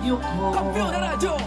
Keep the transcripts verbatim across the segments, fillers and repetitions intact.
Kampiyon na Radyo.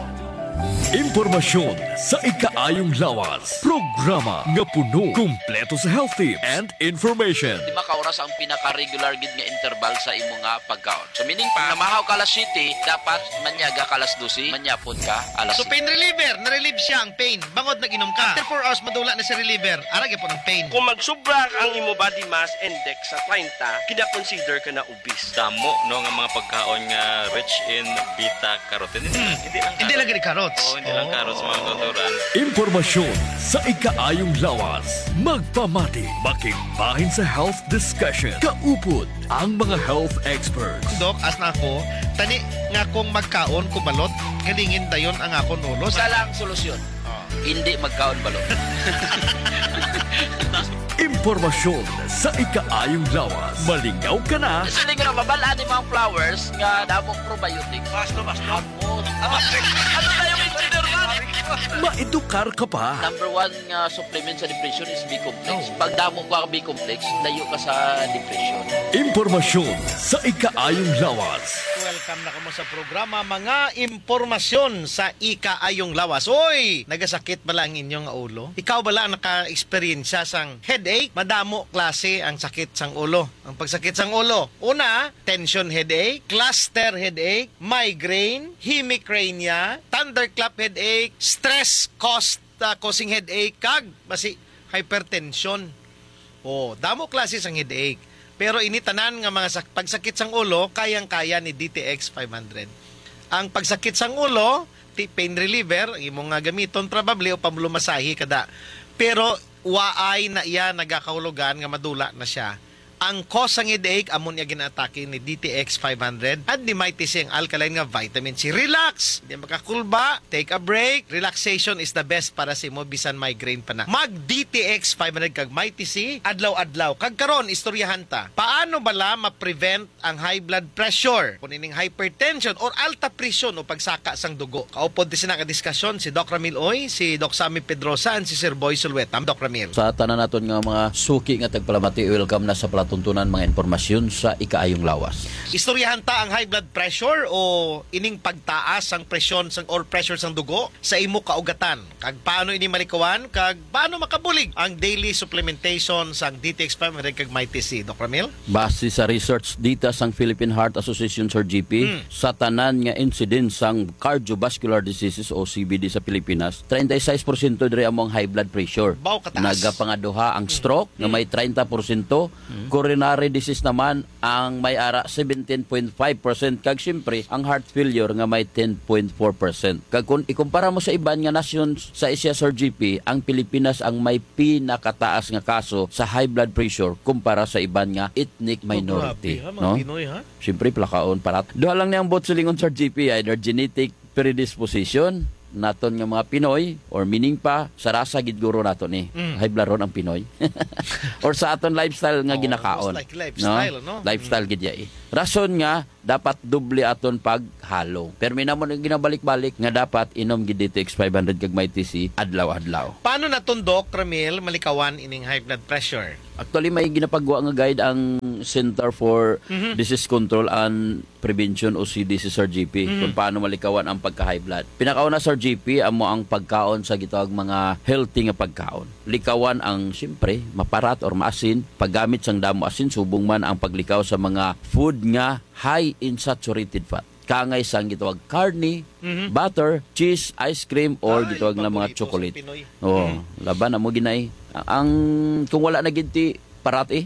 Impormasyon sa ikaayong lawas. Programa nga puno, kumpleto sa health tips and information. Di makaoras ang pinaka-regular gid nga interval sa imo nga pagkaon. So, meaning pa, namahaw ka alas siyete, dapat manyaga ka alas dose, manyapon ka alas So, siyete. Pain reliever, na-relieve siya ang pain. Bangod nag-inom ka. After four hours, madula na si reliever. Ara gyapon ang pain. Kung magsubra ang imo body mass index sa treinta, kina-consider ka na obese. Damo, no, nga mga pagkaon nga rich in beta carotene. Hindi lang Hindi lang carrots. Gani carrots. Oo, hindi lang Oo. carrots, mga kautoran. Impormasyon sa ikaayong lawas. Magpamati, makigbahin sa health discussion. Kaupod ang mga health experts. Dok, as na ako, tani nga kung magkaon ko balot, galingin dayon ang akon ulo. Isa lang solusyon. Oh. Hindi magkaon balot. Impormasyon sa ikaayong lawas. Malingaw ka na. Siling ra, mabal-an ni mga flowers nga damong probiotics. Basto, basto. Ano na yung engineer man? Maedukar ka pa. Number one nga supplement sa depression is B-complex. Oh. Pag damo ka B-complex, layo ka sa depression. Impormasyon sa ikaayong lawas. Welcome na kamo sa programa, mga impormasyon sa ikaayong lawas. Oy, nagasakit bala ang inyong ulo? Ikaw bala ang naka-eksperyensya sang headache? Madamo klase ang sakit sang ulo. Ang pagsakit sang ulo, una, tension headache, cluster headache, migraine, hemicrania, thunderclap headache, stress caused, uh, causing headache, kag basi hypertension. Oh, damo klase sang headache. Pero ini tanan nga mga sak-, pagsakit sang ulo, kayang-kaya ni D T X five hundred. Ang pagsakit sang ulo, ti pain reliever, ang imo nga gamiton probably o pamlumasahi kada. Pero waay na iya nagakahulugan nga madula na siya. Ang cause sang headache, amo niya ginaatake ni D T X five hundred and ni Mighty C, ang alkaline nga vitamin C. Relax! Di makakulba, take a break. Relaxation is the best para sa imo, bisan migraine pa na. Mag D T X five hundred kag Mighty C adlaw-adlaw. Kag karon, istoryahan ta, paano bala ma-prevent ang high blood pressure, kung ining hypertension or alta presyon o pagsaka sang dugo? Kaupod ti sina ka diskasyon si Doc Ramil Uy, si Doc Sammy Pedrosa, and si Sir Boy Sulueta. Doc Ramil. Sa tanan naton nga mga suki nga tagpalamati, welcome na sa palatuntunan mga impormasyon sa ikaayong lawas. Istoryahan ta ang high blood pressure o ining pagtaas sang presyon sang, or pressure sang dugo sa imo kaugatan. Kag paano ini malikawan? Kag paano makabulig ang daily supplementation sang D T X five hundred kag Mighty C, Doc Ramil? Base sa research data sang Philippine Heart Association, Sir G P, Hmm. sa tanan nga incidence sang cardiovascular diseases o C V D sa Pilipinas, treinta y seis porsyento diri amo ang high blood pressure. Baw kataas. Nagapangaduha ang Hmm. stroke nga Hmm. may treinta porsyento, Hmm. coronary disease naman ang may ara seventeen point five percent, kag siyempre ang heart failure nga may ten point four percent. Kag kung ikumpara mo sa iban nga nasyon sa Asia, Sir G P, ang Pilipinas ang may pinakataas nga kaso sa high blood pressure kumpara sa iban nga ethnic Oh, minority, grabe, ha, mga no? Pinoy, ha? Siyempre, plakaon, parat. Duha lang ni ang buot silingon, Sir G P, either genetic predisposition naton nga mga Pinoy, or meaning pa, sa rasa gid guro nato ni, Mm. high blood ron ang Pinoy. Or sa aton lifestyle nga Oh, ginakaon, most likely lifestyle, no? no? Lifestyle Mm. gid ya eh. Rason nga, dapat doble aton paghalong. Pero may namon ang ginabalik-balik nga dapat inom gid D T X five hundred kag Mighty C adlaw-adlaw. Paano naton, Doc Ramil, malikawan ining high blood pressure? Actually, may ginapagwa nga guide ang Center for Mhm. Disease Control and Prevention o C D C, Sir G P, Mhm. kung paano malikawan ang pagka-high blood. Pinakauna, Sir G P, amo ang pagkaon sa gitawag mga healthy nga pagkaon. Likawan ang, siyempre, maparat or maasin, paggamit sang damo asin, subong man ang paglikaw sa mga food nga high in saturated fat. Kangay sang gitawag karne, Mhm. butter, cheese, ice cream, or Ay, gitawag na mga paborito sa chocolate. Pinoy. Oo, Mhm. laban na mo ginay. Ang, kung wala na gid ti parat eh.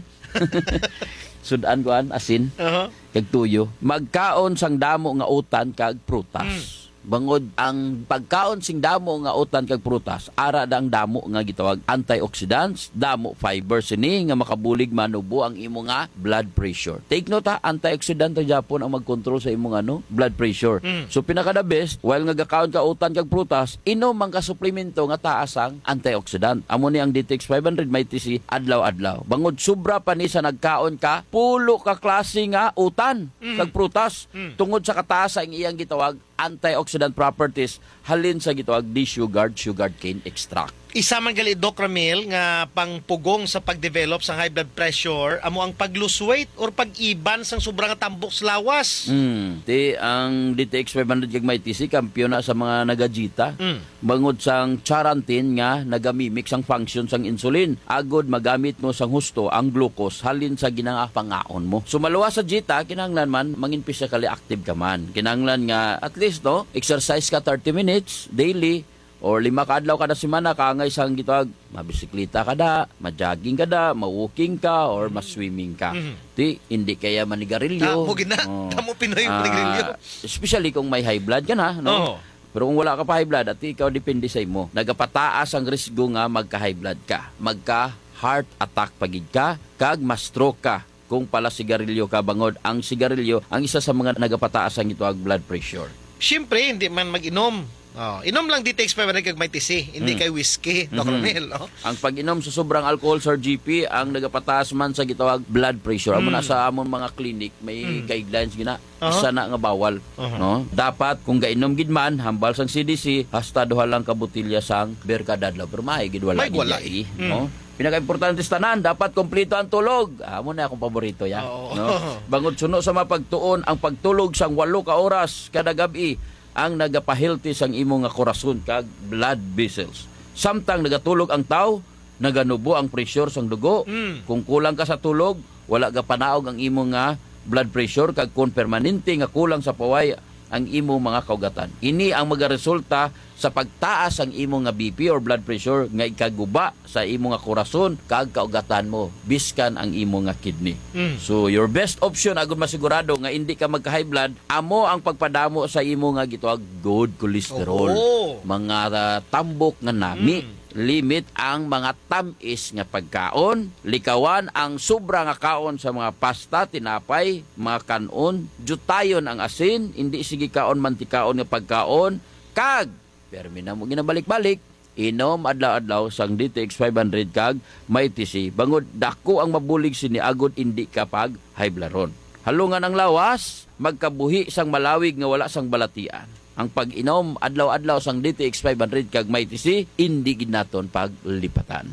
Sudan kuan, asin, Aha. kag tuyo. Magkaon sang damo nga utan kag prutas. Mm. Bangod ang pagkaon sing damo nga utan kag prutas, ara da ang damo nga gitawag antioxidants, damo fiber sini nga makabulig manubo ang imo nga blood pressure. Take note ha, antioxidant ra gyapon ang magkontrol sa imong ano, blood pressure. Mm. So pinaka the best, while nga gakaon ka utan kag prutas, inom man ka suplemento nga taas ang antioxidant. Amo ni ang D T X five hundred Mighty C adlaw-adlaw. Bangod sobra pa ni sa nagkaon ka, pulo ka klase nga utan Mm. kag prutas Mm. tungod sa kataas ang iyang gitawag antioxidant properties halin sa gitawag desugared sugarcane extract. Isa man gali, Doc Ramil, nga pangpugong sa pag-develop sang high blood pressure amo ang pag-lose weight or pag-iban sang sobra nga tambok sa lawas. Mm. Ti ang D T X five hundred kag Mighty C kampiyon na sa mga nagajita. Mm. Bangod sang charantin nga nagamimik sang function sang insulin, agod magamit mo sang husto ang glucose halin sa ginapangaon mo. So, maluwas sa jita, kinahanglan man mangin physically active ka man. Kinahanglan nga at least, no, exercise ka thirty minutes daily or lima ka adlaw kada semana, kaangay sang gitawag, mabisikleta ka da, ma-jogging ka da, ma-walking ka, or ma-swimming ka. Mhm. Ti, hindi kaya manigarilyo. Tamo gina, Oh. tamo Pinoy Ah, manigarilyo. Especially kung may high blood ka na, no? Oo. Pero kung wala ka pa high blood, at ikaw depende sa imo. Nagapataas ang risgo nga magka-high blood ka, magka-heart attack pa gid ka, kag ma-stroke ka kung pala sigarilyo ka, bangod ang sigarilyo ang isa sa mga nagapataas ang ito ag blood pressure. Siyempre, hindi man mag-inom. Oh, inom lang D T X five hundred kag Mighty C, hindi Hmm. kay whiskey, Doc Mhm. Romel, oh. Ang pag-inom sa sobrang alcohol, Sir G P, ang nagapataas man sa gitawag blood pressure. Amo na Hmm. sa amon mga clinic, may Hmm. guidelines gina, Aha. isa na nga bawal, Aha. no? Dapat, kung gainom gid man, hambal sang C D C, hasta duha lang ka botelya sang beer kada adlaw. Pero may gid wala May gid wala, yai, eh. Mm. no? Pinakaimportante sa tanan, dapat kompleto ang tulog. Amo na akong paborito, ya. Oo. No? Bangod suno sa mga pagtuon, ang pagtulog sang walo ka oras kada gab-i ang nagapahealthy sang imo nga korason kag blood vessels. Samtang nagatulog ang tawo, naganubo ang pressure sang dugo. Mm. Kung kulang ka sa tulog, wala gapanaog ang imo nga blood pressure, kag kung permanente nga kulang sa paway ang imo mga kaugatan, ini ang magaresulta sa pagtaas ang imo nga B P or blood pressure nga ikaguba sa imo nga korason kag kaugatan mo, biskan ang imo nga kidney. Mm. So, your best option agud masigurado nga indi ka magka-high blood, amo ang pagpadamo sa imo nga gitawag good cholesterol. Oo. Mga, ah, tambok nga nami. Mm. Limit ang mga tam-is nga pagkaon, likawan ang sobra nga kaon sa mga pasta, tinapay, mga kan-on, diyutayon ang asin, indi sige kaon mantikaon nga pagkaon, kag, permi na mo ginabalik-balik, inom adlaw-adlaw sang D T X five hundred kag Mighty C, bangod dako ang mabulig sini agod indi ka pag-high blood ron. Halungan ang lawas, magkabuhi sang malawig nga wala sang balatian. Ang pag-inom adlaw-adlaw sang D T X five hundred kag Mighty C, indi gid naton paglipatan.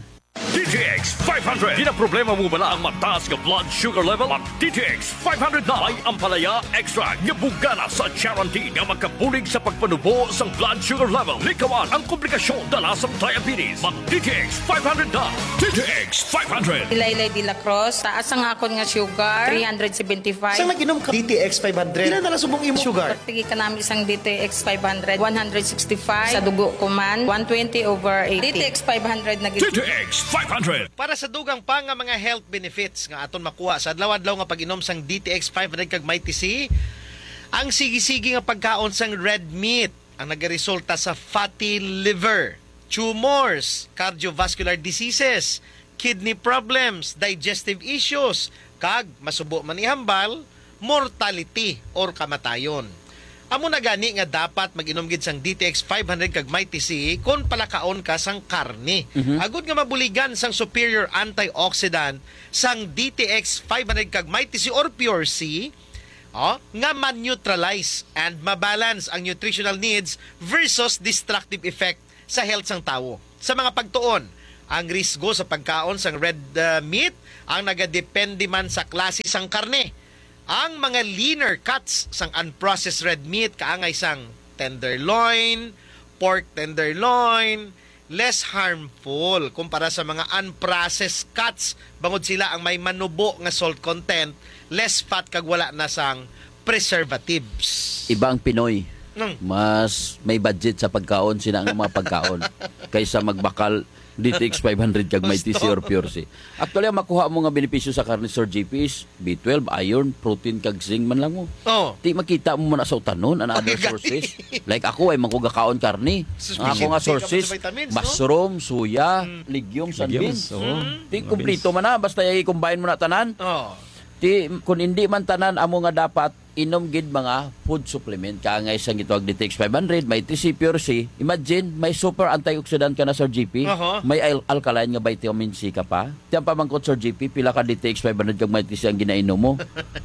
D T X five hundred. Ginaproblema mo bala ang mataas nga blood sugar level? Mag D T X five hundred na. May ampalaya extract nga bugana sa charantin nga makabulig sa pagpanubo sang blood sugar level. Likawan ang komplikasyon dala sa diabetes. Mag D T X five hundred na. D T X five hundred. Laylay de la Cruz, taas ang akon nga sugar, three hundred seventy-five. Sang nag-inom ka D T X five hundred, pila na lang subong imong sugar? Pagtigi ka namin sang D T X five hundred, one hundred sixty-five. Sa dugo ko man, one twenty over eighty. D T X five hundred na gid. D T X five hundred. Para sa dugang pa nga mga health benefits nga aton makuha sa adlaw-adlaw nga pag-inom sang D T X five hundred kag Mighty C, ang sige-sige nga pagkaon sang red meat ang nagaresulta sa fatty liver, tumors, cardiovascular diseases, kidney problems, digestive issues, kag masubo man ihambal, mortality or kamatayon. Amo na gani nga dapat mag-inom gid sang D T X five hundred kag Mighty C kon palakaon ka sang karne. Mhm. Agud nga mabuligan sang superior antioxidant sang D T X five hundred kag Mighty C or Pure C, oh, nga ma-neutralize and ma-balance ang nutritional needs versus destructive effect sa health sang tawo. Sa mga pagtuon, ang risgo sa pagkaon sang red, uh, meat ang nagadepende man sa klase sang karne. Ang mga leaner cuts sang unprocessed red meat, kaangay sang tenderloin, pork tenderloin, less harmful kumpara sa mga unprocessed cuts, bangod sila ang may manubo nga salt content, less fat, kag wala na sang preservatives. Iba ang Pinoy. Nang Mas may budget sa pagkaon sina nga mga pagkaon kaysa magbakal D T X five hundred kag may Gusto. T C or Pure C. Actually, ang makuha mo nga benepisyo sa karne, Sir G P, is B twelve, iron, protein, kag zinc man lang mo. Oh. Di makita mo man sa utanon, and other Ay, gani. sources. Like ako, ay man ko gakaon karne. Sus, Ang ako nga busy ka pa sa sources, vitamins, no? mushroom, soya, Mm. legumes, and Legumes, beans. oo. Mm. Di Mga kumpleto beans. man na, basta i-combine mo na tanan. Oh. Di, kung hindi man tanan, amo nga dapat inom gid mga food supplement. Kaangay sang gitawag D T X five hundred, may T C Pure C. Imagine, may super antioxidant ka na, Sir G P. Aha. May al-, alkaline nga vitamin C ka pa. Tiyan pamangkot, Sir G P, pila ka D T X five hundred kag may T C ang ginainom mo?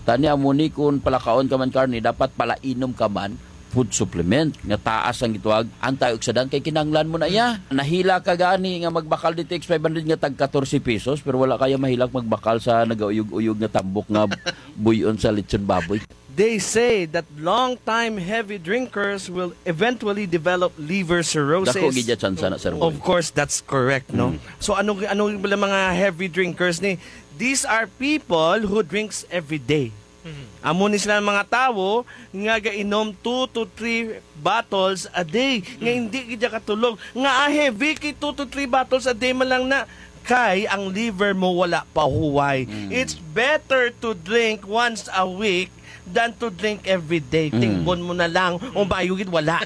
Tani amo ni, kung palakaon ka man karne, dapat palainom ka man food supplement nga taas ang gitawag antioxidant kay kinahanglan mo na iya. Nahila ka gani nga magbakal D T X five hundred nga tag katorse pesos pero wala kaya mahilak magbakal sa nagauyog-uyog nga tambok nga buyon sa lechon baboy. They say that long-time heavy drinkers will eventually develop liver cirrhosis. Dako gid ya tsansa na, Sir Boy. Of course, that's correct, no? Mm. So, ano, ano yung mga heavy drinkers ni? These are people who drinks every day. Mhm. Amo ni sila ang mga tawo nga gainom two to three bottles a day, nga Mm. hindi gid ya katulog. Nga, ah, heavy kay two to three bottles a day man lang na. Kay ang liver mo wala pa huway. Mm. It's better to drink once a week than to drink every day. Mm. Tingbon mo na lang, o bayo gid wala.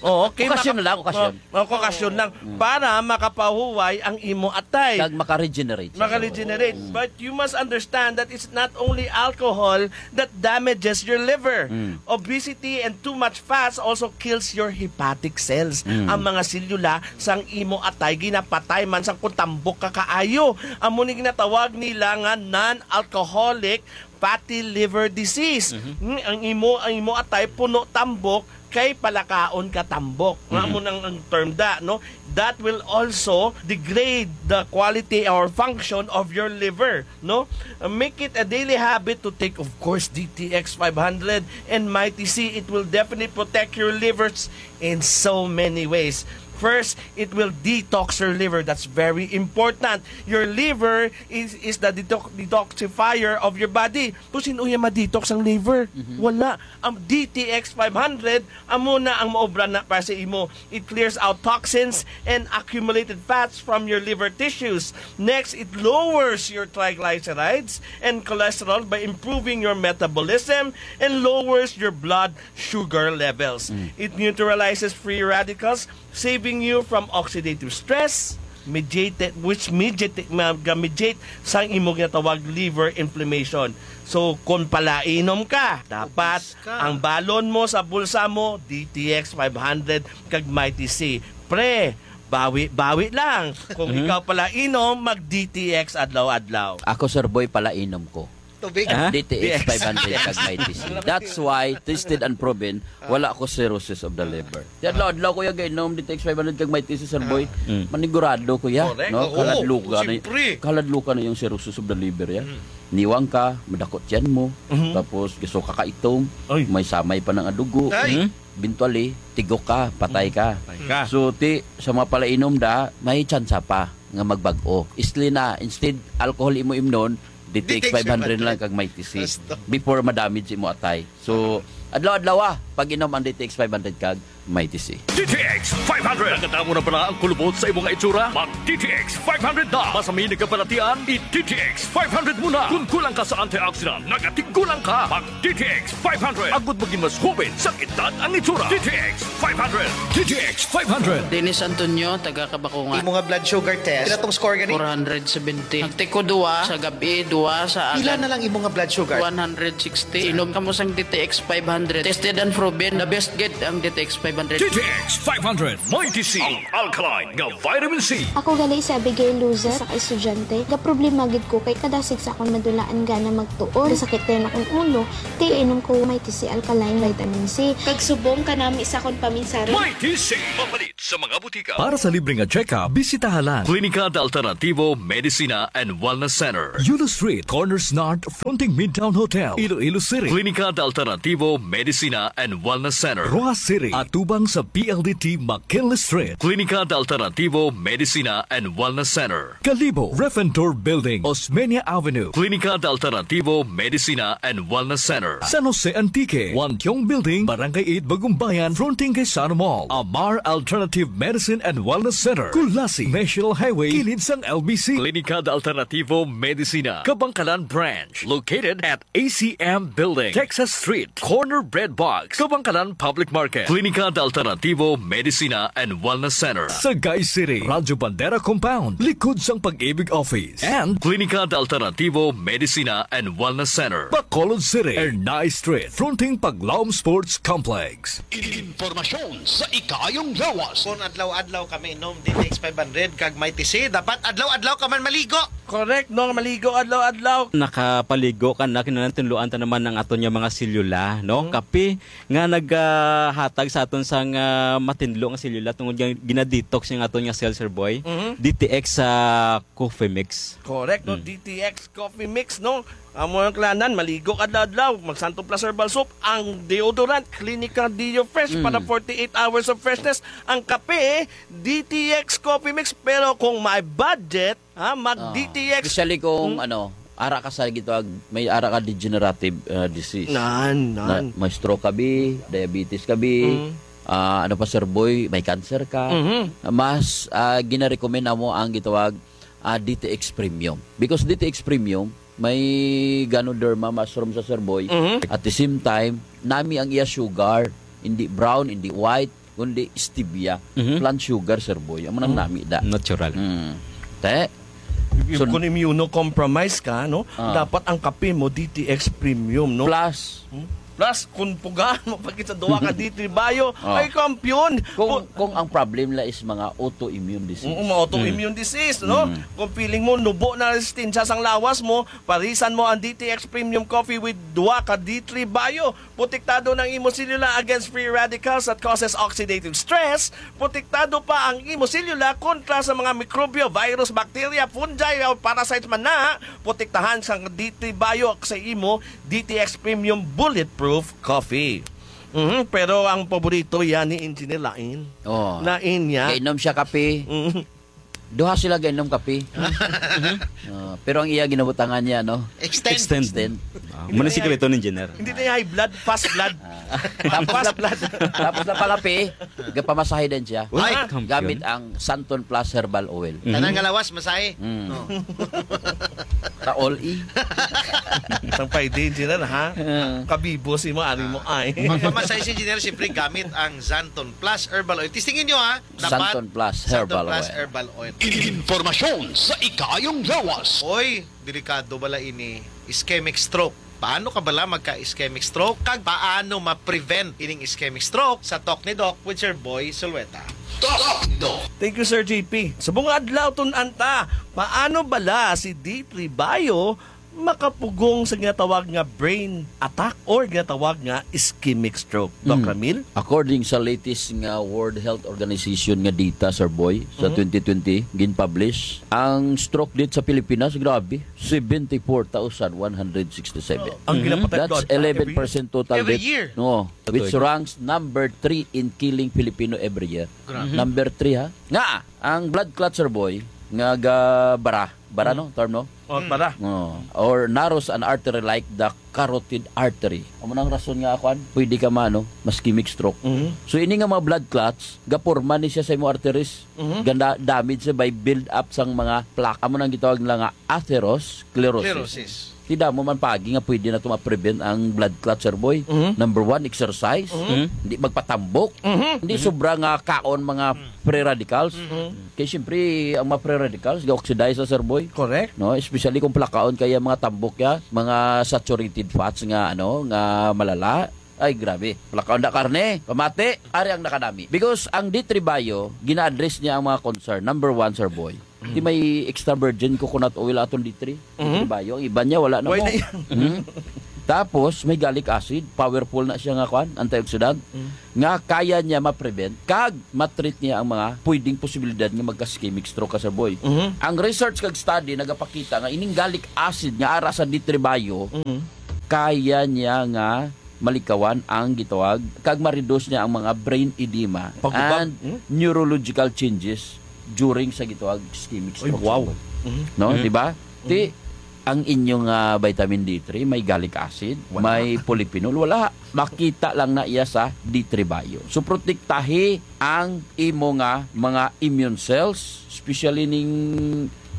Oo, okay, Okasyon maka-, na lang, okasyon. o, o, okasyon lang. Mm. Para makapahuway ang imo atay. Kag maka-regenerate siya. Maka-regenerate. Mm. But you must understand that it's not only alcohol that damages your liver. Mm. Obesity and too much fats also kills your hepatic cells. Mm. Ang mga selula sang imo atay ginapatay man sang kung tambok ka kaayo. Amo ni ginatawag nila nga non-alcoholic fatty liver disease. Mhm. Mm, ang imo, ang imo atay puno tambok kay palakaon ka tambok. Nga Mhm. amo nang ang term da, no? That will also degrade the quality or function of your liver, no? Uh, make it a daily habit to take, of course, D T X five hundred and Mighty C. It will definitely protect your livers in so many ways. First, it will detox your liver. That's very important. Your liver is, is the detox-, detoxifier of your body. Kung sino yung ma-detox ang liver? Mhm. Wala. Ang D T X five hundred, amo na ang maobra na para sa imo. It clears out toxins and accumulated fats from your liver tissues. Next, it lowers your triglycerides and cholesterol by improving your metabolism and lowers your blood sugar levels. Mm. It neutralizes free radicals, saving you from oxidative stress, mediate, which mediate, mag-mediate sang imo ginatawag liver inflammation. So, kung palainom ka, dapat Obese ka. ang balon mo sa bulsa mo, D T X five hundred kag Mighty C. Pre, bawi-bawi lang. Kung Mhm. ikaw palainom, mag-D T X adlaw-adlaw. Ako, Sir Boy, palainom ko. Tubig. Ha? D T X five hundred kag Mighty C. That's why, tested and proven, wala ko cirrhosis of the liver. Di adlaw-adlaw ko ya gainom D T X five hundred kag Mighty C, Sir Boy. Mm. Manigurado ko ya, Correct. no? Oo, Kaladluka na, siyempre. kaladluka na yung cirrhosis of the liver ya. Mm. Niwang ka, madakot tiyan mo, Mhm. tapos gusto ka kaitom, Oy. may samay pa ng adugo. Ay. Mhm. Eventually, tigok ka, patay ka. Patay ka. So, ti, sa mga palainom da, may tsansa pa nga magbag-o. Isli na, instead alcohol imo imnon, D T X five hundred lang kag Mighty C. Basta. Before madamage imo atay. So, adlaw-adlaw, ah, pag-inom ang D T X five hundred kag Mighty C. D T X five hundred. Nakadamo na bala ang kulubot sa imo nga itsura? Mag D T X five hundred na. Basta may nagkabalatian, i D T X five hundred mo na. Kung kulang ka sa antioxidant, nagatigulang ka. Mag D T X five hundred. Agud maging mas hubin sa edad ang itsura. D T X five hundred. D T X five hundred. Dennis Antonio, taga Kabakungan. Imo nga blood sugar test, pila tong score gani? Four hundred seventy. Nagtiko duwa sa gabi, duwa sa Pila agad. na lang imo nga blood sugar? One hundred sixty. Inom kamo sang D T X five hundred. Tested and proven. The best gid ang D T X five hundred. D T X five hundred. Mighty C, ang alkaline nga vitamin C. Ako gali si Abigail Luza, sa ka estudyante. Ga problema gid ko kay kadasig sa akon madula ang gana magtuon. Sakit dayon akong ulo. Kay inom ko Mighty C alkaline vitamin C. Kag subong kanami sa akon paminsaron. Mighty C, mapalit sa mga butika. Para sa libre nga check-up, bisitaha lang Klinika de Alternativo Medicina and Wellness Center, Yulo Street, Corners North, fronting Midtown Hotel, Iloilo City. Klinika de Alternativo Medicina and Wellness Center, Roxas City, atubang sa P L D T McKinley Street. Klinika de Alternativo Medicina and Wellness Center, Kalibo, Refentor Building, Osmeña Avenue. Klinika de Alternativo Medicina and Wellness Center, San Jose Antique, Wantiong Building, Barangay eight, Bagumbayan, fronting kay Sano Mall. Amar Alternative Medicine and Wellness Center, Culasi, National Highway, kilid sang L B C. Klinika de Alternativo Medicina, Kabangkalan Branch, located at A C M Building, Texas Street, corner Bread Box, Kabangkalan Public Market. Klinika de Alternativo Medicina and Wellness Center, Sagay City, Radyo Bandera Compound, likod sang Pag-ibig Office. And Klinika de Alternativo Medicina and Wellness Center, Bacolod City, Ernai Street, fronting Paglaom Sports Complex. Impormasyon sa ikaayong lawas. Kung adlaw-adlaw kami inom D T X five hundred kag Mighty C, dapat adlaw-adlaw ka man maligo. Correct, no? Maligo adlaw-adlaw. Nakapaligo ka na, kinahanglan tunloan ta naman ang aton nga mga selula, no? Mhm. Kape nga nagahatag sa aton sang, ah, matinlo nga selula tungod nga gina-detox ang aton nga cell, Sir Boy. Mhm. D T X sa Coffee Mix. Correct, no? Mm. D T X Coffee Mix, no? Amo ang kalanan, maligo ka adlaw-adlaw, mag Santon Plus Herbal Soap, ang deodorant, Clinica Deo Fresh, Mm. para forty-eight hours of freshness, ang kape, D T X Coffee Mix, pero kung may budget, ha, mag Ah, D T X. Especially kung, Mm. ano, ara ka sa gitawag, may ara ka degenerative, ah, disease. Nan, Na, nan. may stroke ka bi, diabetes ka bi, Mm. ah, ano pa, Sir Boy, may cancer ka, Mhm. mas, ah, ginarekomenda mo ang gitawag, ah, D T X Premium. Because D T X Premium, may Ganoderma mushroom sa, Sir Boy. Mhm. At the same time, nami ang iya sugar, hindi brown, hindi white, kundi stevia. Mhm. Plant sugar, Sir Boy. Amo nang Mm. nami da. Natural. Mm. Te? If, if So, kung immunocompromised ka, no, Ah. dapat ang kape mo, D T X Premium, no? Plus. Hmm? Plus, kung pugaan mo pag sa duha ka D three Bio, Oh. ay kampiyon. Kung, Pu- kung ang problem la is mga autoimmune disease. Oo, mga autoimmune Mm. disease, no? Mm. Kung feeling mo, nubo na resistensya sang lawas mo, parisan mo ang D T X Premium Coffee with duha ka D three Bio. Protektado ng imo selula against free radicals that causes oxidative stress. Protektado pa ang imo selula kontra sa mga mikrobyo, virus, bacteria, fungi, o parasites man na. Protektahan sang D three Bio sa imo D T X Premium Bulletproof Coffee. Mhm, pero ang paborito yan ni Engineer Lain. Oh. Lain niya. Kainom siya kape. Mhm. Duha sila gainom kape. Ah, pero ang iya ginabutangan niya, no? Extend. Extend. Extend. Ah, muna sikreto ni Engineer. Hindi na high blood, fast blood. Ah. Tapos Fast na, blood. tapos na pangape, gapamasahe din siya. Ay, Ay, kampiyon. Gamit ang Santon Plus Herbal Oil. Mhm. Tanan nga lawas, masahe. Mm. No. Taol, eh. Sang pay din sila na, ha? Ah. Kabibo si mo, ari mo, ay. Magpamasahe si Engineer, siyempre, gamit ang Santon Plus Herbal Oil. Testingin nyo, ha? Dapat Santon Plus Santon Herbal Plus Oil. Herbal Oil. Informasyon sa ikaayong lawas. Oy, delikado bala ini, ischemic stroke. Paano ka bala magka-ischemic stroke? Kag paano ma-prevent ining ischemic stroke? Sa Talk ni Doc with Sir Boy Sulueta. Talk ni Doc. Thank you, Sir J P. Sa mga adlaw, tun-an ta, paano bala si D three Bio makapugong sa ginatawag nga brain attack or ginatawag nga ischemic stroke? Doc Mm. Ramil? According sa latest nga World Health Organization nga data, Sir Boy, sa Mhm. twenty twenty, gin-publish, ang stroke death sa Pilipinas, grabe, seventy-four thousand one hundred sixty-seven. Ang Mhm. ginapatay That's doon, eleven percent total Every death. year. No, Totoo which ito. ranks number three in killing Filipino every year. Grabe. Number three, ha? Nga, ang blood clot, Sir Boy, nga ga-, bara, bara, Mhm. no? Term, no? Oh, Mm. para. Oh, or narrows an artery like the carotid artery. Amo nang rason nga, kwan, pwede ka ma-, ano, ma-ischemic stroke. Mhm. So, ini nga mga blood clots, gaporma ni siya sa imong arteries. Mhm. Ganda, damage siya by build up sang mga plaque. Amo nang gitawag nila nga atherosclerosis. Sclerosis. Ti damo man pagi nga pwede na to ma-prevent ang blood clot, Sir Boy. Mhm. Number one, exercise. Mhm. Hindi magpatambok. Mhm. Hindi Mhm. sobra nga kaon mga Mhm. free radicals. Mhm. Kay siyempre, ang mga free radicals, ga-oxidize sa, Sir Boy. Correct. No, especially kung palakaon kaya mga tambok ya, mga saturated fats nga, ano, nga malala. Ay, grabe. Palakaon na karne, pamati, ari ang nakanami. Because ang D three Bio, gina-address niya ang mga concern. Number one, Sir Boy. Mm. Di may extra virgin coconut oil aton D three. D three Mhm. Bio. Ang iba niya, wala na Why mo. na yan? Mhm. Tapos, may gallic acid. Powerful na siya nga, kwan, antioxidant. Mm. Nga kaya niya ma-prevent, kag ma-treat niya ang mga pwedeng posibilidad nga magka-ischemic stroke ka, Sir Boy. Mhm. Ang research kag study nagapakita nga ining gallic acid nga ara sa D three Bio, Mhm. kaya niya nga malikawan ang gitawag, kag ma-reduce niya ang mga brain edema Pagubag. and Hmm? neurological changes during sa gitawag ischemic Ay, stroke, wow. Sir Boy. Mhm. No, Mhm. di ba? Ti, Mhm. ang inyong, ah, vitamin D three, may gallic acid, Wala. may polyphenol, wala. Makita lang na iya sa D three Bio. So, protektahi ang imo nga mga immune cells, especially ning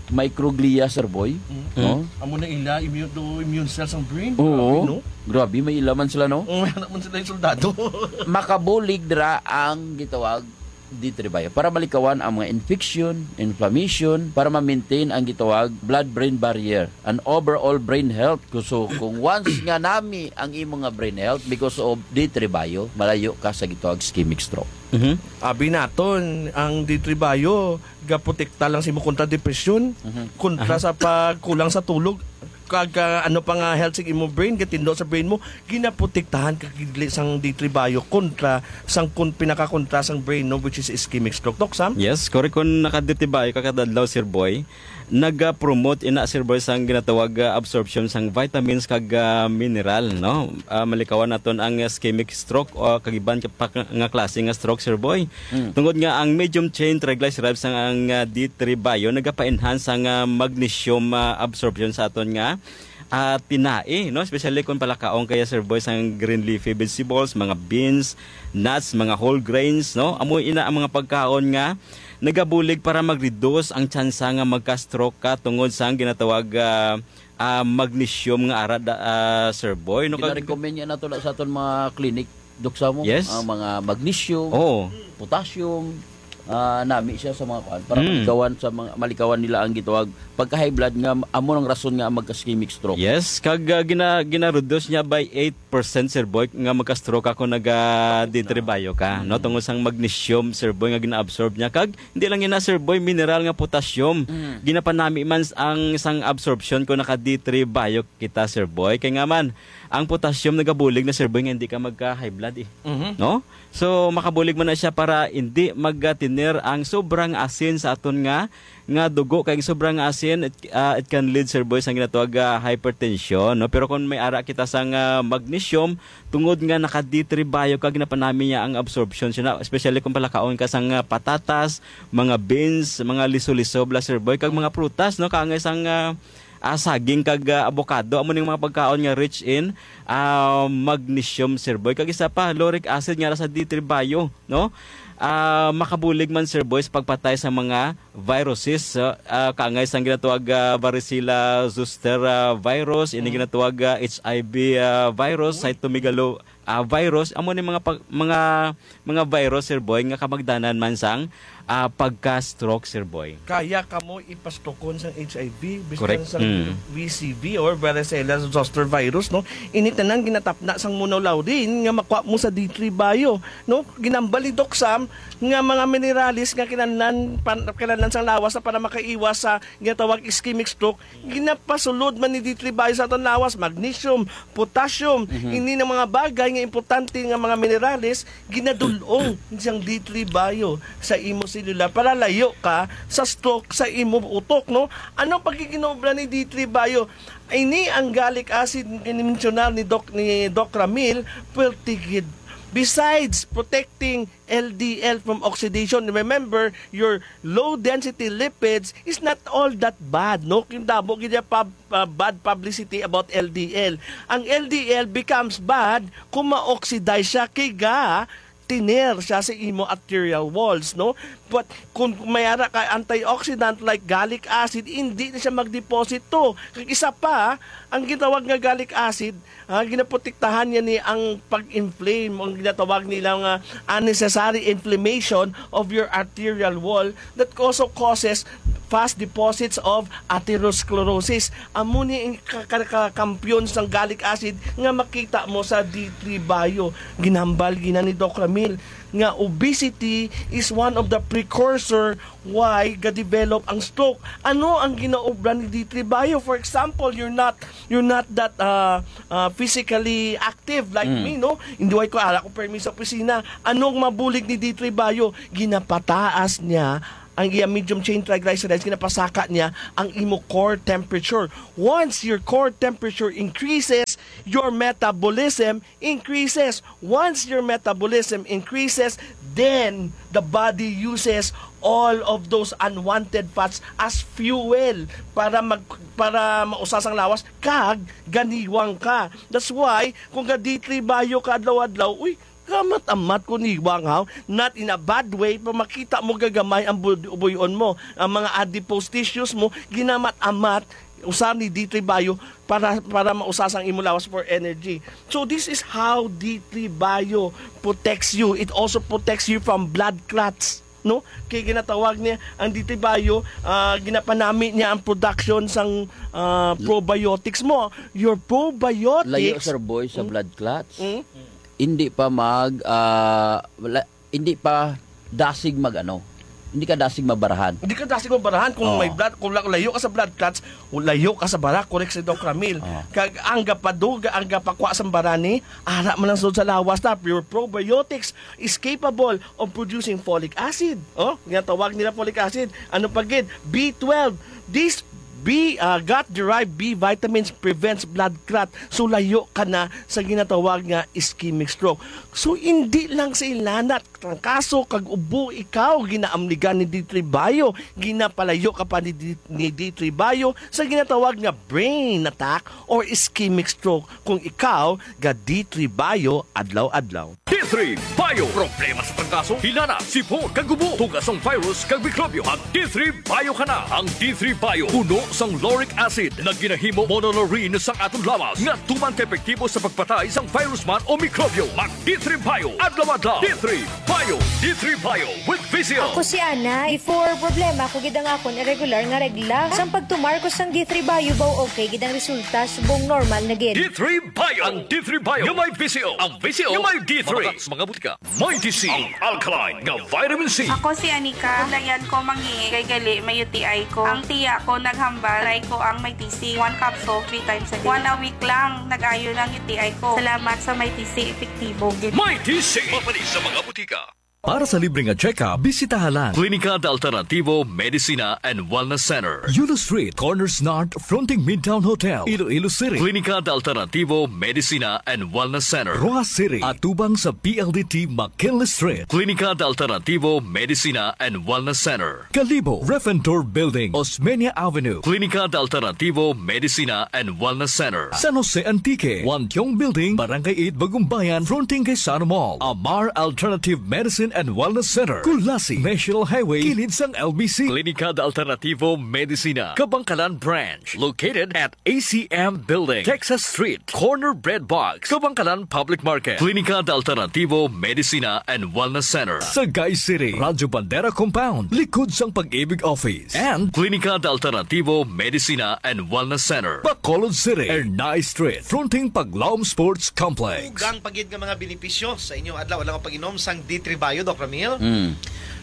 microglia, Sir Boy, Mm. no? Amo na ila, immune, do immune cells ang brain. Oo. Grabe, no? Grabe, may ila man sila, no? Mm, may anak man sila yung soldado. Makabulig dira ang gitawag D three Bio para malikawan ang mga infection, inflammation, para ma-maintain ang gitawag blood-brain barrier, an overall brain health. So, kung once nga nami ang imo nga brain health because of D three Bio, malayo ka sa gitawag ischemic stroke. Mhm. Abi naton, ang D three Bio gaprotekta lang sa imo kontra depresyon, Mhm. kontra Aha. sa pagkulang sa tulog, kag, ah, ano pa nga health sa imo brain, gatindo sa brain mo, ginaprotektahan ka gid sang D three Bio kontra sang kun-, pinakakontra sang brain, no, which is ischemic stroke. Doc Sam? Yes, correct. Kung naka-D three Bio ka kada adlaw, Sir Boy, nag-promote ina, Sir Boy, sang ginatawag, ah, absorption sang vitamins kag, ah, mineral, no? Ah, malikawan naton ang ischemic stroke o kag iban ka pa nga klase nga stroke, Sir Boy. Mm. Tungod nga ang medium chain triglycerides sang ang, ah, D three Bio nagapa-enhance sang, ah, magnesium, ah, absorption sa aton nga, ah, tinai, no? Especially kung palakaon kaya, Sir Boy, sang green leafy vegetables, mga beans, nuts, mga whole grains, no? Amo ina ang mga pagkaon nga nagabulig para mag-reduce ang tsansa nga magka-stroke ka tungod sang ginatawag, ah, ah, magnesium nga ara da, ah, Sir Boy, no? Kag Gina-recommend niya nato na sa aton mga clinic, Doc Sam, Yes. ang mga magnesium, Oo. potassium, ah, nami siya sa mga kuan para Mm. malikawan sa mga, malikawan nila ang gitawag pagka-high blood nga amo ang rason nga magka-ischemic stroke. Yes, kag, ah, gina-, gina-reduce niya by eight percent, Sir Boy, nga magka-stroke ako naga Kapit na. D three Bio ka, no? Mm. Tungod sang magnesium, Sir Boy, nga gina-absorb niya. Kag hindi lang yun na, Sir Boy, mineral nga potassium. Mm. Ginapanami man s-, ang sang absorption ko naka D three Bio kita, Sir Boy. Kay nga man, ang potassium nagabulig na, Sir Boy, nga hindi ka magka-high blood eh. Mhm. No? So, makabulig man na siya para hindi magtiner ang sobrang asin sa aton nga, nga dugo. Kay ang sobrang asin, it, ah, it can lead, Sir Boy, sa ginatawag, ah, hypertension, no? Pero kung may ara kita sang, ah, magnesium, tungod nga naka D three Bio ka, ginapanami niya ang absorption siya na, especially kung palakaon ka sang, ah, patatas, mga beans, mga liso-liso, bla, Sir Boy, kag mga prutas, no? Kaangay sang, ah, ah, saging kag, ah, avocado. Amo ning mga pagkaon nga rich in, ah, magnesium, Sir Boy. Kag isa pa, lauric acid nga ara sa D three Bio, no? Ah, makabulig man, Sir Boy, sa pagpatay sa mga viruses, ah, ah, kaangay sang ginatawag, ah, varicella zoster, ah, virus, ini Mm. ginatawag, ah, H I V, ah, virus, Uy. cytomegalo-, ah, virus. Amo ni mga pag-, mga, mga virus, Sir Boy, nga kamagdanan man sang, ah, pagka-stroke, Sir Boy. Kaya kamo ipastokon sang H I V, biskan Correct. sang Mm. V C V or varicella zoster virus, no? Ini tanan ginatapna sang monolaurin nga makuha mo sa D three Bio, no? Ginambal ni Doc Sam nga mga minerales nga kinahanglan pan-, kinahanglan sang lawas na para makaiwas sa ginatawag ischemic stroke, ginapasulod man ni D three Bio sa aton lawas, magnesium, potassium, Mhm. ini nga mga bagay nga importante nga mga minerales, ginadul-ong sang D three Bio sa imo selula para layo ka sa stroke sa imo utok, no? Ano ang pagkikinaubra ni D three Bio? Ini ang gallic acid nga mensyona ni Doc, ni Doc Ramil, pwerte gid. Besides protecting L D L from oxidation, remember, your low density lipids is not all that bad, no? Kung damo gid ya pub-, uh, bad publicity about L D L. Ang L D L becomes bad kung ma-oxidize siya, kay ga tiner siya sa imo arterial walls, no? But kung may ara ka antioxidant like gallic acid, hindi na siya magdeposito. Kag isa pa, ang gitawag nga gallic acid, ah, ginaprotektahan niya ni ang pag-inflame, ang ginatawag nila nga unnecessary inflammation of your arterial wall that also causes fast deposits of atherosclerosis. Amo ni ang ka-, ka-, kakampiyon sang gallic acid nga makita mo sa D three Bio. Ginhambal gina ni Doc Ramil nga obesity is one of the precursor why ga-develop ang stroke. Ano ang ginaobra ni D three Bio? For example, you're not, you're not that, uh, uh, physically active like Mm. me, no? Hindi way ko ara ko permi sa opisina. Anong mabulig ni D three Bio? Ginapataas niya ang iya medium chain triglycerides, ginapasaka niya ang imo core temperature. Once your core temperature increases, your metabolism increases. Once your metabolism increases, then the body uses all of those unwanted fats as fuel para mag-, para mausa sang lawas kag ganiwang ka. That's why kung ga D three Bio ka adlaw-adlaw, uy, gamat-amat ko niwang, ha? Not in a bad way, pa makita mo gagamay ang bud-, buyon mo. Ang mga adipose tissues mo, ginamat-amat Usa ni D three Bio para, para mausa sang imo lawas for energy. So this is how D three Bio protects you. It also protects you from blood clots, no? Kay ginatawag niya ang D three Bio, ah, ginapanami niya ang production sang, ah, probiotics mo. Your probiotics. Layo, Sir Boy, sa Mm. blood clots. Mm. Hindi pa mag, ah, wala, hindi pa dasig mag ano. Hindi ka dasig mabarahan. Hindi ka dasig mabarahan kung Oo. may blood, kung la-, layo ka sa blood clots, layo ka sa bara, correct si Doc Ramil. Oo. Kag ang gapaduga, ang gapakwa sa bara ni, ara man ang sud sa lawas na, pure probiotics is capable of producing folic acid. Oh, nga tawag nila folic acid. Ano pa gid? B twelve. This B, ah, gut-derived B vitamins prevents blood clot. So, layo ka na sa ginatawag nga ischemic stroke. So, hindi lang sa ilanat, trangkaso, kag ubo, ikaw, ginaamligan ni D three Bio, ginapalayo ka pa ni D-, ni D three Bio sa ginatawag nga brain attack or ischemic stroke kung ikaw ga D three Bio adlaw-adlaw. D three Bio. Problema sa trangkaso, hilanat, sipon, kag ubo, tugas sang virus kag mikrobyo. Mag D three Bio ka na. Ang D three Bio puno sang lauric acid nga ginahimo monolaurin sang aton lawas nga tuman ka epektibo sa pagpatay sang virus man o mikrobyo. Mag D three Bio adlaw-adlaw. D three Bio. D three Bio with Vision. Ako si Ana. Before, problema ko gid ang akon irregular nga regla. Sang pagtumar ko sang D three Bio, baw okay gid ang resulta, subong normal na gid. D three Bio. Ang D three Bio nga may Vision. Ang Vision nga may D three. Mga butika. Mighty C, ang alkaline nga vitamin C. Ako si Anika. Layan ko mangihi kay gali may U T I ko. Ang tiya ko naghambal, try ko ang Mighty C. One capsule, three times a day. One a week lang, nag-ayo na ang U T I ko. Salamat sa Mighty C, epektibo gid. Mighty C, mapalit sa mga butika. Para sa libre nga check-up, bisitaha lang Klinika de Alternativo Medicina and Wellness Center, Yulo Street, Corners North, fronting Midtown Hotel, Iloilo City. Klinika de Alternativo Medicina and Wellness Center, Roxas City, atubang sa P L D T McKinley Street. Klinika de Alternativo Medicina and Wellness Center, Kalibo, Ref and Tour Building, Osmeña Avenue. Klinika de Alternativo Medicina and Wellness Center, San Jose Antique, Wantiong Building, Barangay eight, Bagumbayan, fronting kay Sano Mall. Amar Alternative Medicine and Wellness Center, Culasi, National Highway, kilid sang L B C. Klinika de Alternativo Medicina, Kabangkalan Branch, located at A C M Building, Texas Street, corner Bread Box, Kabangkalan Public Market. Klinika de Alternativo Medicina and Wellness Center, Sagay City, Radyo Bandera Compound, likod sang Pag-ibig Office. And Klinika de Alternativo Medicina and Wellness Center, Bacolod City, Ernai Street, fronting Paglaom Sports Complex. Dugang pa gid nga mga benepisyo sa inyo adlaw-adlaw nga pag-inom sang D three Bio, Doc Ramil. Mm.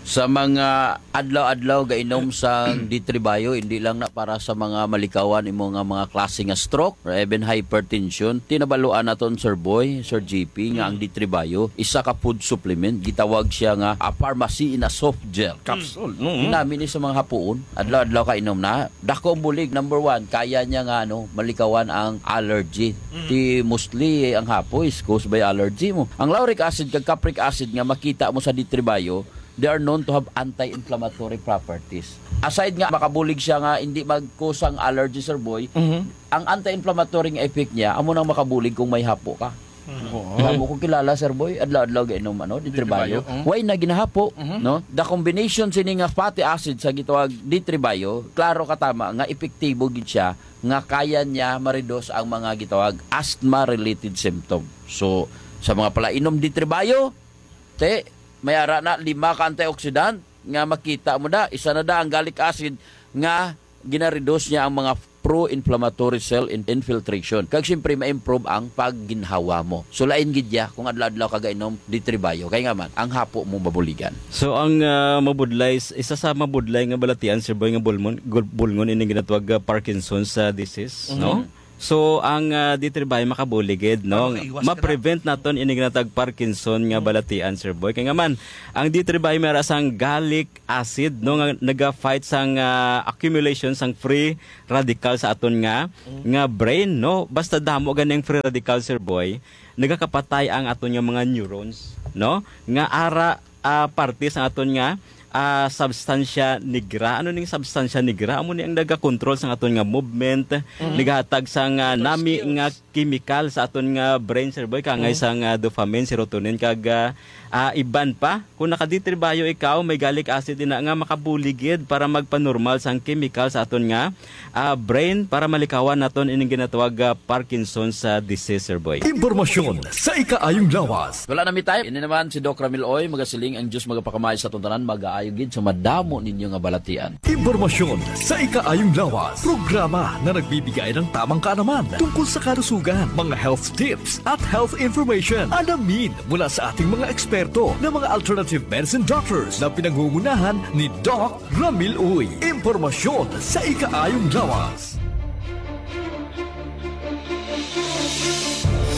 Sa mga adlaw-adlaw gainom sang D three Bio, hindi lang na para sa mga malikawan imo nga mga klase nga stroke or even hypertension. Tinabaluan naton, Sir Boy, Sir G P, nga ang D three Bio, isa ka food supplement. Gitawag siya nga a pharmacy in a soft gel. Capsule, no? Ginami ni sa mga hapuon. Adlaw-adlaw ka inom na. Dako ang bulig. Number one, kaya niya nga, ano, malikawan ang allergy. Mm. Ti mostly, eh, ang hapo is caused by allergy mo. Ang lauric acid kag capric acid nga makita mo sa D three Bio, they are known to have anti-inflammatory properties. Aside nga makabulig siya nga hindi mag-cause ang allergy, Sir Boy, Mhm. ang anti-inflammatory nga effect niya, amo nang makabulig kung may hapo ka. Mhm. Oo. Amo ko kilala, Sir Boy, adlaw-adlaw gainom, ano, D three Bio. D three Bio, mm. Why na ginahapo, Mhm. no? The combination sini nga fatty acid sa gitawag D three Bio, klaro ka tama nga epektibo gid siya nga kaya niya ma-reduce ang mga gitawag asthma-related symptom. So, sa mga palainom D three Bio, te, may ara na lima ka antioxidant nga makita mo da. Isa na da ang gallic acid nga gina-reduce niya ang mga pro-inflammatory cell in-, infiltration. Kag siyempre, ma-improve ang pagginhawa mo. So, lain gid ya kung adlaw-adlaw ka gainom D three Bio. Kay nga man, ang hapo mo mabuligan. So, ang, ah, mabudlay, isa sa mabudlay nga balatian, Sir Boy, nga bulmon-, gul-, bulngon ini ginatawag, ah, Parkinson's, ah, disease, Mhm. no? So, ang, ah, D three Bio makabulig gid, no? Makaiwas ka na. Ma-prevent naton ini ginatawag Parkinson nga Mhm. balatian, Sir Boy. Kay nga man, ang D three Bio may ara sang gallic acid, no, nga naga-fight sang, ah, accumulation sang free radical sa aton nga, Mm. nga brain, no? Basta damo ganing free radical, Sir Boy, nagakapatay ang aton nga mga neurons, no? Nga ara, ah, parte sa aton nga, ah, substansya negra. Ano ning substansya negra? Amo ni ang nagakontrol sa aton nga movement, Mm. nagahatag sa nga Motor nami skills. nga chemical sa aton nga brain, Sir Boy, kangay Mm. sa nga dopamine, serotonin, kag, ah, Ah, iban pa, kung nakaditribayo ikaw, may galik acid ina nga makabulig gid para magpanormal sang chemical sa aton nga, ah, brain para malikawan naton ining ginatawag nga Parkinson's, ah, disease, Sir Boy. Impormasyon sa ikaayong lawas. Wala na mi time. Ini naman si Doc Ramil Oy, magasiling ang Diyos magapakamay sa aton tanan, magaayo gid sa madamo ninyo nga balatian. Impormasyon sa ikaayong lawas. Programa na nagbibigay ng tamang kaalaman tungkol sa kalusugan, mga health tips at health information. Alamin mula sa ating mga eksperto na mga alternative medicine doctors na pinangungunahan ni Doc Ramil Uy. Impormasyon sa ikaayong lawas.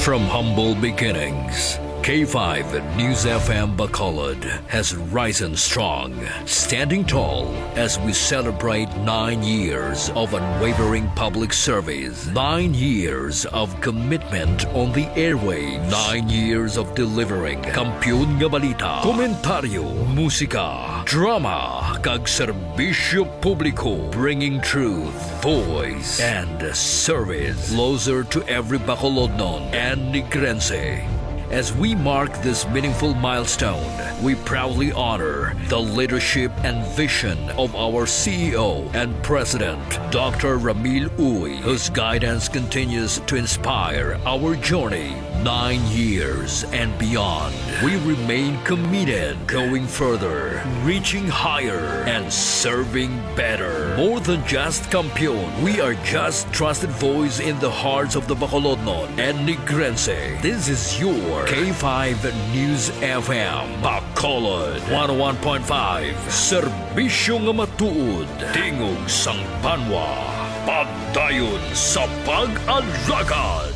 From humble beginnings, K five News F M Bacolod has risen strong, standing tall as we celebrate nine years of unwavering public service, nine years of commitment on the airwaves, nine years of delivering kampiyon nga balita, komentaryo, musika, drama, kag serbisyo publiko, bringing truth, voice, and service closer to every Bacolodnon and Negrense. As we mark this meaningful milestone, we proudly honor the leadership and vision of our C E O and President, Doctor Ramil Uy, whose guidance continues to inspire our journey nine years and beyond. We remain committed, going further, reaching higher, and serving better. More than just kampiyon, we are just trusted voice in the hearts of the Bacolodnon and Negrense. This is your K five News F M, Bacolod, one oh one point five. Serbisyo nga matuod, tingog sang banwa. Pagdayon sa pag-alagad.